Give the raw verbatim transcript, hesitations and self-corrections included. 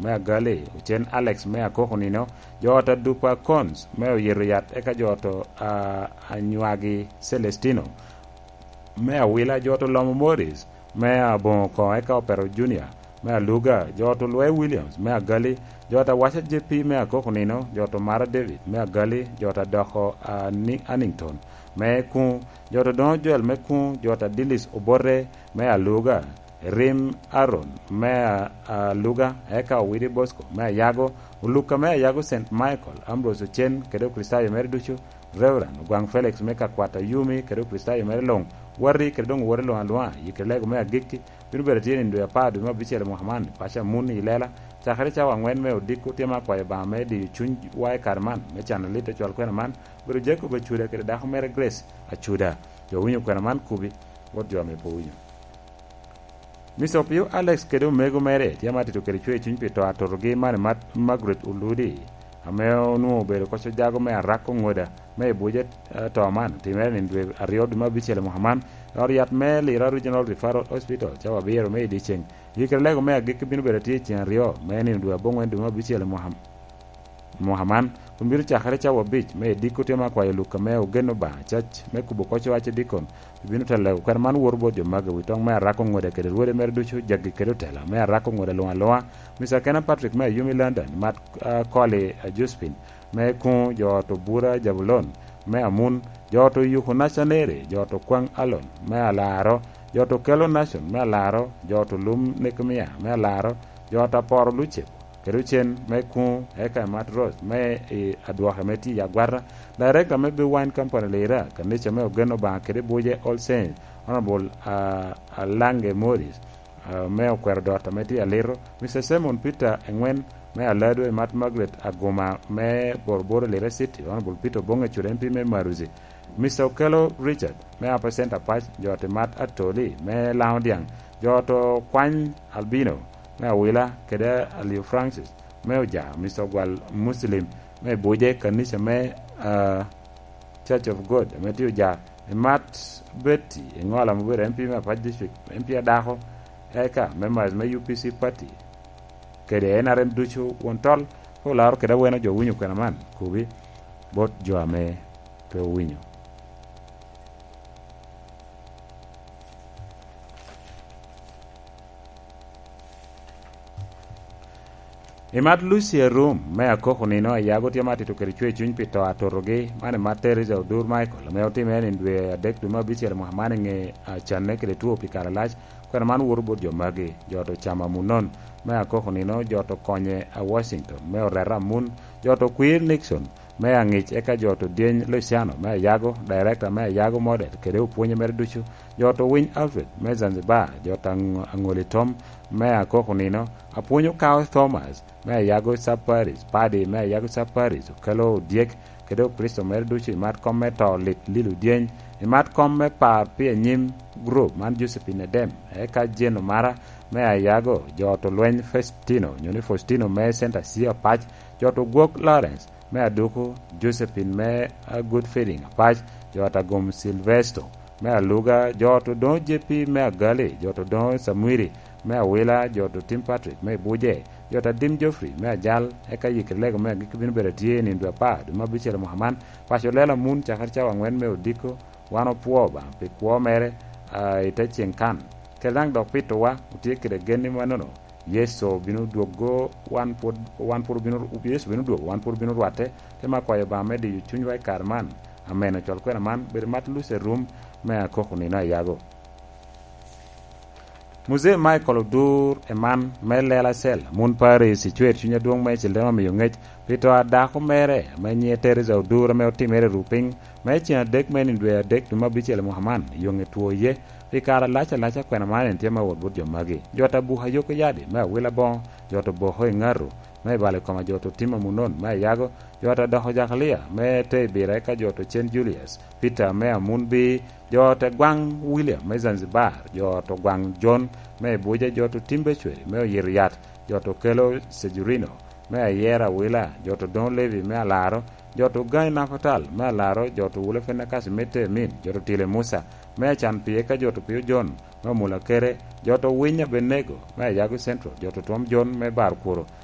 me Agali, ocen Alex me Akoko nino, jo ot a Dupa Cons me Oyito Yat, eka jo ot a, a Nywagi Celestino me Awila, jo ot a Lomo Morris me Aboŋo Koŋo, eka Opero Junior me Aluga, jo ot a Olwe Williams me Agali, jo ot a Waca J P me Akoko nino, jo ot a Omara David me Agali, jo ot a Doko a Ni-, Annington me Kuŋ, jo ot a Odoŋo Joel me Kuŋ, jo ot a Dilis Obote me Aluga, Rim Aaron me a-, Aluga, eka Owidi Bosco me Ayago, Oluka me Ayago, Saint Michael, Ambrose Ocen kede Okricitayo mere ducu, Reverend Ogwaŋ Felix me Kakwat Ayumi kede Okricitayo mere luŋ, Wati kede doŋ Owati luŋ aluŋa, Yikelego me Agikki bino bedo atye nino dwe apar dwe me abicel i mwaka man, i paco a Mun i Ilela, cakere cawa aŋwen me odiko. Tye ma akwayo Obaŋa me diyo cunywa i kare man, me cano lit ocwal kwena man, obedo Jacob Acuda kede dako mere Grace Acuda. Jo winyo kwena man kubi, wot jo ame pe owinyo. Mister Opio Alex kede omego mere tye ma atito kede cwer cuny pi to atotogi man i mat Margaret Oludi, ame onwoŋo obedo koc ojago me Arako Ŋoda me i buc ato man, otimere nino dwe aryo dwe me abicel i mwaka man, i ot yat me Lira Regional Referral Hospital, cawa abiro me i dyeceŋ. Yikere lego me agikki bino bedo atye i ceŋ aryo me nino dwe aboŋwen dwe me abicel i mwaka mwaka man, kun bino cakere cawa abic me ediko. Tye ma akwayo Luka me Ogen Obaŋa, cac me kubo koc owac i dikon, bino telo kwena man woto bot jo magi, wi toŋ me Arako Ŋoda kede rwode mere ducu, jagi kede otela me Arako Ŋoda luŋ aluŋa, Mister Kena Patrick me Ayumi London, Mat, ah, Koli, ah, Josephine me Kuŋ, jo ot Obura Jabulon me Amun, jo ot Oyuku Nacaneri, jo ot Okwaŋ Alon me Alaro, jo ot Okelo Nacon me Alaro, jo ot Olum Nekemia me Alaro, jo ot Aporo Lucep, kede ocen me Kuŋ, eka i Mat Rose me i Adwoke me tye i Agwata, Director me Big Wine Company Lira, kanica me Ogen Obaŋa kede Buje All Saints, Honorable, ah, Alange Morris, ah, me Okwero Dot ame tye i Alito, Mister Simon Peter Eŋwen me Aladwe, Mat Margaret Aguma me Boroboro Lira City, Honorable Peter Oboŋe Cut M P me Maruzi, Mister Okello Richard me Upper Centre Pac, jo ot Mat Atoli me Laŋo Dyaŋ, jo ot Okwany Albino me Awila kede Aliu Francis me Oja, Mister Ogwal Muslim me Buje, kanica me, ah, Church of God ame tye Oja, Mat Betty Eŋola ame obedo M P me Apac District, M P adako, eka members me U P C party kede N R M ducu. Won Tol pe olaro kede aweno jo owinyo kwena man, kubi bot jo ame pe owinyo. I Mat Lucia Rum me Akoko nino, Ayago tye ma atito kede cwer cuny pi to atotogi, man i Mat Teresa Odur Michael, ame otimere nino dwe adek dwe me abicel i mwaka man i ŋe, ah, canne kede two pi kare alac. Kwena man woto bot jo magi, jo ot Ocamo Amunon me Akoko nino, jo ot Okonye a Washington me Oreta Amun, jo ot Okwir Nixon me Aŋic, eka jo ot Odyeny Luciano me Ayago, Director me Ayago Model kede opwonye mere ducu, jo ot Owiny Alfred me Zanzibar, jo ot Aŋ-, Aŋoli Tom me Akoko nino, Apwony Okawo Thomas me Ayago Sub Parish, Padi me Ayago Sub Parish, Okelo Odyek kede Okricito mere ducu i Mat Kom me To Lit Lilo Dyeny, i Mat Kom me Par pi Anyim Group man Josephine Edem, eka Jane Omara me Ayago, jo ot Olweny Faustino, onyo ni Faustino me Center C Apac, jo ot Ogwok Lawrence me Aduku, Josephine me, ah, Good Feeding Apac, jo ot Agom Silvesto me Aluga, jo ot Odoŋo J P me Agali, jo ot Odoŋo Samwiri me Awila, jo ot Otim Patrick me Buje, jo ot Adim Geoffrey me Ajal, eka Yikri Lego me Agikki bino bedo atye i nino dwe apar dwe me abicel i mwaka man. Paco Lela Mun, cakere cawa aŋwen me odiko, wan opwoo Obaŋa pi kwo mere, ah, i te ceŋ kan. Kede daŋ dok pitowa, otye kede gen ni mannono, Yecu bino dwogo, wan pwod, wan pwod obino, Yecu bino dwogo, wan pwod obino rwatte. Te ma kwayo Obaŋa me diyo cunywa i kare man. Amen. Ocwal kwena man, bedo mat Luce Rum me Akoko nino Ayago. Muzee Michael Odur Eman me Lela Cell, Amun Paris, icwer cuny adwoŋ me Cilem amiyo ŋec pi to a dako mere ame nyiŋe Teresa Odur ame otimere i Rupiny me ceŋ adek me nino dwe adek dwe me abicel i mwaka man, i yoŋe two iye. Pi kare alac alac akwena man en tye ma wot bot jo magi: jo ot Abuka Yoko Yadi me Awila Boŋo, jo ot Oboko i Ŋaru me Bale Koma, jo ot Otim Amunon me Ayago, jo ot Adoko Jakalia me te Ibira, eka jo ot Ocen Julius Peter me Amunbi, jo ot Egwaŋ William me Zanzibar, jo ot Ogwaŋ John me Ibuja, jo ot Otim Becweri me Oyito Yat, jo ot Okelo Sejurino me Ayera Awila, jo ot Odoŋo Levi me Alaro, jo ot Ogaŋi Napatal me Alaro, jo ot Owule Fenakasi me Temin, jo ot Otile Musa me Acan Pii, eka jo ot Opio John me Omula Kere, jo ot Owiny Abenego me Ayago Central, jo ot Otwom John me Bar Kworo,